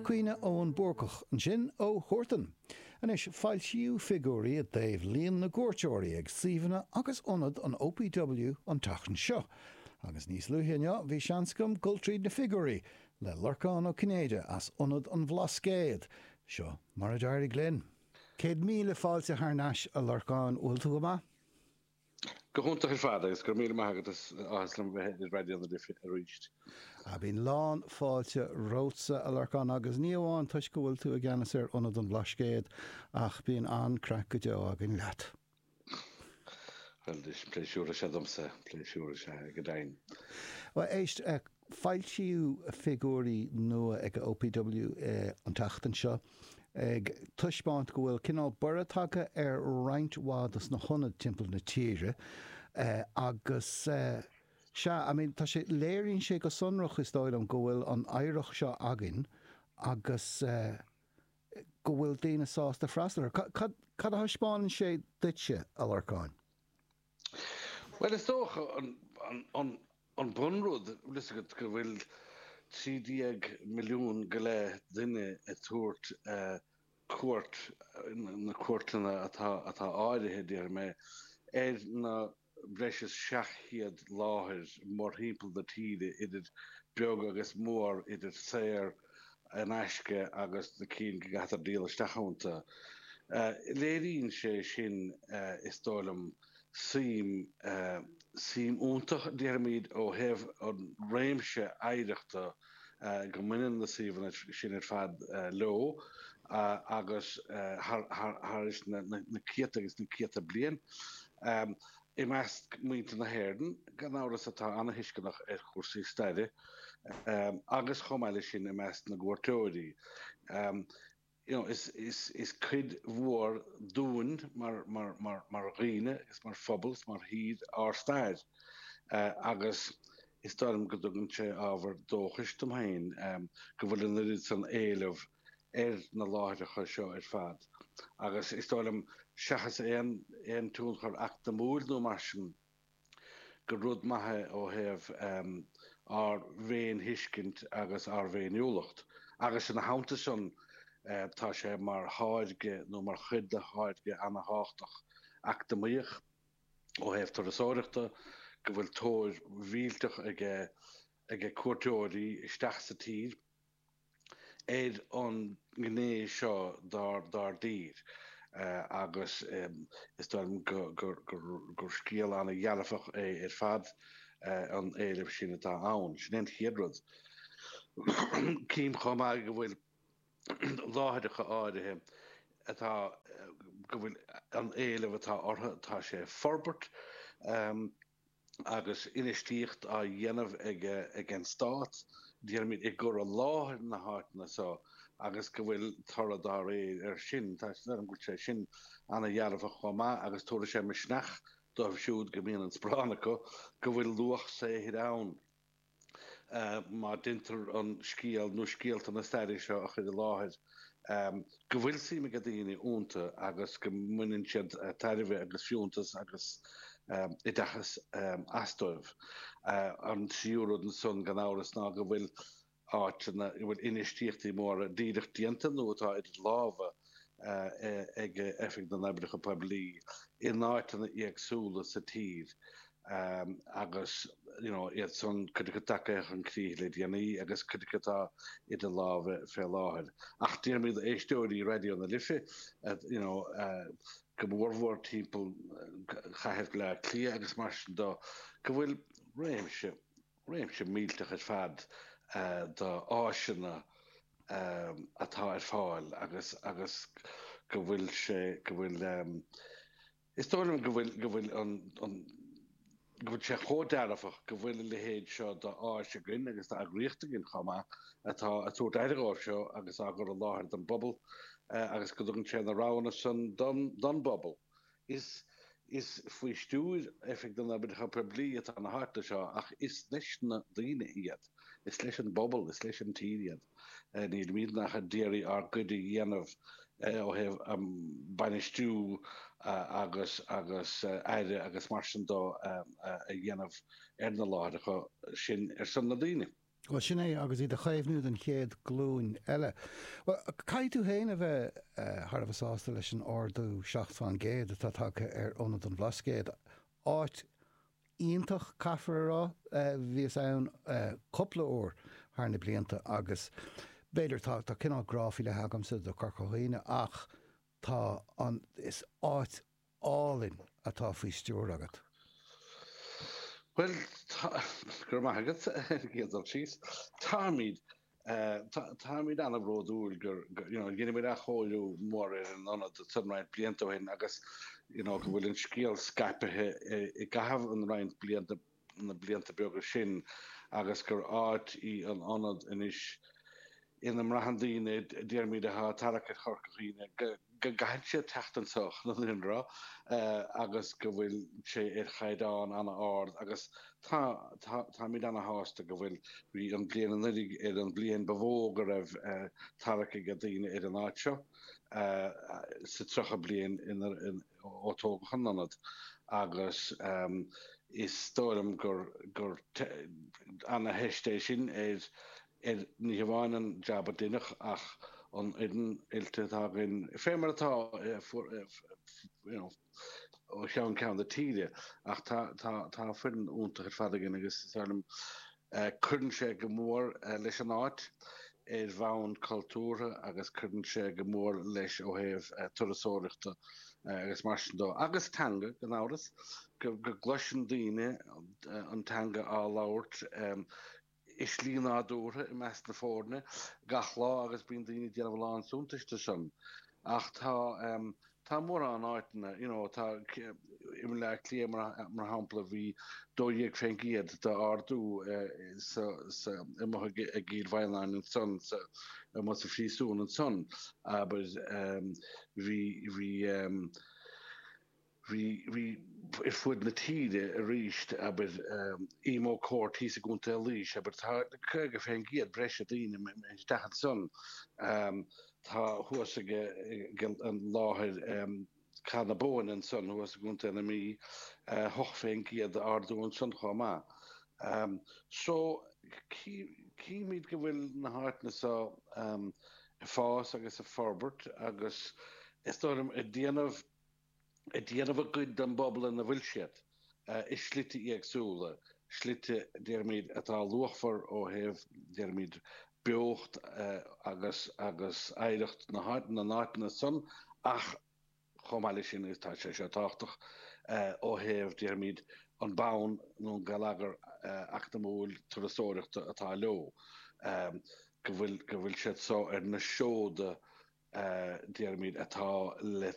Caoineadh Eoin Búrcach ansin ó Huartan. Anois, foilsíodh figiúirí i dtaobh líon na gcuairteoirí ag suíomhanna agus ionaid an OPW an tseachtain seo. Agus níos luaithe inniu bhí seans agam dul tríd na figiúirí le Lorcán Ó Cinnéide as Ionad an Bhlascaoid. Seo mar a d'éirigh linn. 100,000 fáilte thar n-ais a Lorcáin, bhfuil tú go maith? Go hiontach ar fad agus go raibh míle maith agat is áthas liom bheith ar Raidió na Life arís. Ah bíonn lán fáilte romhatsa a Lorcáin agus ní amháin toisc go bhfuil tú i gceannas ar Ionad an Bhlascaoid ach bíonn an-craic go deo againn leat. Bhuel is pléisiúr is ea domsa, pléisiúr is ea go deimhin. Bhuel éist, Foilsíodh figiúirí nua ag an OPW an tseachtain seo ag taispeáint go bhfuil cineál borradh tagtha ar roinnt mhaith dos na hionaid timpeall na tíre agus sea, I mean, tá sé, léiríonn sé go sonrach is dóigh liom go bhfuil an oidhreacht seo againn agus go bhfuil daoine sásta freastal air. Cad, cad a thaispeánann sé duitse, a Lorcáin? Bhuel, is dócha an bunrud, bhfuil fhios agat, go bhfuil 13 milliún go leith duine ag tabhairt cuairt, na cuairteanna atá áirithe, déarfaidh mé, ar na breis is 700 láthair mórthimpeall na tíre, idir beag agus mór, idir saor in aisce agus na cinn go gcaithfear díol isteach iontu. Léiríonn sé sin, is dóigh liom, suim, suim iontach, déarfaimid, ó thaobh an réimse oidhreachta go mbaineann na suíomhanna sin ar fad leo agus thar éis na céadta agus na céadta bliain. I measc muintir na hÉireann, gan amhras, atá ana-thuisceanach ar chúrsaí staire, agus chomh maith leis sin i measc na gcuairteoirí. You know, is, is, is cuid mhór dúinn mar, mar, mar, mar dhaoine agus mar phobal is mar thír ár stair. Agus is dóigh liom go dtugann sé ábhar dóchais dom féin go bhfuil an oiread san éileamh ar na láithreacha seo ar fad. Agus is dóigh liom, seachas aon, aon tionchar eacnamúil nó mar sin, gur rud maith é ó thaobh ár bhféinthuiscint agus ár bhféiniúlacht. Agus ina theannta san, tá sé mar tháirge nó mar chuid de tháirge ana-thábhachtach eacnamaíoch ó thaobh turasóireachta, go bhfuil tóir mhillteach ag cuairteoirí isteach sa tír. ar an ngné seo dár dtír agus is dóigh liom gur scéal an-dhearfach é ar fad an éileamh sin atá ann. Sin é an chéad rud. Cím chomh maith go bhfuil láithreacha áirithe atá, go bhfuil an éileamh atá orthu, tá sé ag forbairt. agus infheistíocht á dhéanamh ag an Stát, déarfaimid, i gcur i láthair na háiteanna seo agus go bhfuil toradh dá réir air sin. Tá sé go bhfuil sé sin ana-dhearfach chomh maith agus tabharfaidh sé misneach dóibh siúd go mbíonn an sparán acu go bhfuil luach saothair ann. má deintear an scéal nó scéalta na staire seo a chur i láthair, go bhfuil suim ag daoine iontu agus go mbaineann siad tairbhe agus fiúntas agus oideachas as dóibh. An tríú rud ansan, gan amhras, ná go bhfuil áiteanna, go bhfuil infheistíochtaí móra díreach déanta nó atá idir lámha ag Oifig na nOibreacha Poiblí in áiteanna éagsúla sa tír agus you know iad san, cuid acu tagtha chun críche le déanaí agus cuid acu atá idir lámha fé láthair. Ach déarfaimid d'éisteoirí Raidió na Life you know go mórmhór timpeall chathair Bhaile Átha Cliath agus mar sin de go bhfuil réimse, réimse millteach ar fad d'áiseanna atá ar fáil agus agus go bhfuil sé, go bhfuil. Is dóigh liom go bhfuil, go bhfuil an, an, go bhfuil sé chomh dearfach go bhfuil a leithéid seo d'áis againn agus d'eagraíocht againn chomh maith atá ag tabhairt aire dhóibh seo agus á gcur i láthair don bpobal agus go dtugann sé na roghanna san don, don bpobal. Is, is faoi stiúir Oifig na nOibreacha Poiblí atá na háiteanna seo ach is leis na daoine iad, is leis an bpobal, is leis an tír iad. Nílimidne ach ag iarraidh ár gcuid a dhéanamh ó thaobh bainistiú agus agus aire agus mar sin de a dhéanamh ar na láithreacha sin ar son na daoine. Bhuel, sin é, agus iad a chaomhnú don chéad ghlúin eile. Bhuel, caithfidh tú féin a bheith thar a bheith sásta leis an ardú 7% atá tagtha ar Ionad an Bhlascaoid. Áit iontach, caithfear a rá. Bhíos ann cúpla uair thar na blianta agus b'fhéidir tá tá cineál grá faoi leith agamsa do Chorca Dhuibhne ach tá an, is áit álainn atá faoi stiúir agat. Bhuel, tá, go raibh maith agat, ar an gcéad dul síos. Táimid, táimid an-bhródúil gur, you know, dheineamar athchóiriú mór ar an ionad ansan roinnt blianta ó shin agus, you know, go bhfuil an scéal scaipthe i gcaitheamh an roinnt blianta, na blianta beaga sin agus gur áit í an ionad anois ina mbraitheann daoine, déarfaimid, atá ag tarrac ar Chorca Dhuibhne, go gcaithfidh siad teacht anseo chun an fhírinne a rá agus go bhfuil sé ar chaighdeán an-ard agus tá, tá, táimid ana-shásta go bhfuil, bhí an bhliain anuraidh ar an bhliain ba mhó go raibh tarrac ag daoine ar an áit seo sa 30 bliain ina, ó tógadh an ionad agus is dóigh liom gur gur ana-theist é sin ar ar ní hamháin an jab a deineadh ach an fhoireann oilte atá againn fé mar atá you know ó cheann ceann na tíre ach tá tá tá foireann iontach ar fad againn agus is dóigh liom Cuireann sé go mór leis an áit ar bhonn cultúrtha agus cuireann sé go mór leis ó thaobh turasóireachta agus mar sin dó. Agus teanga, gan amhras, go gcloiseann daoine an teanga á labhairt i slí nádúrtha i measc na foirne gach lá agus bíonn daoine ag déanamh a lán suntais de sin. Ach tá. Tá mórán áiteanna, you know, tá, i mBaile Átha Cliath mar shampla, bhí 12% d'ardú sa, sa, amuigh i gCill Mhaighneáin ansan, sa, amuigh sa phríosún ansan, abair, bhí, bhí, bhí, bhí ar fuaid na tíre arís, abair, Emo Court thíos i gContae Laois, abair, tá 50% breise daoine isteach ansan. Tá thuas ag an láthair Cath na Bóinne ansan thuas i gContae na Mí, 8% d'ardú ansan chomh maith. So, címid go bhfuil na háiteanna so ag fás agus ag forbairt agus is dóigh liom ag déanamh ag déanamh a gcuid don bpobal ina bhfuil siad, i slite éagsúla, slite, déarfaimid, atá luachmhar ó thaobh, déarfaimid, beocht agus agus oidhreacht na na n-áiteanna san ach chomh maith leis sin, agus tá sé seo tábhachtach, ó thaobh, déarfaimid, an bonn nó an geilleagar eacnamúil turasóireachta atá leo, go bhfuil go bhfuil siad so ar na seoda, déarfaimid, atá le.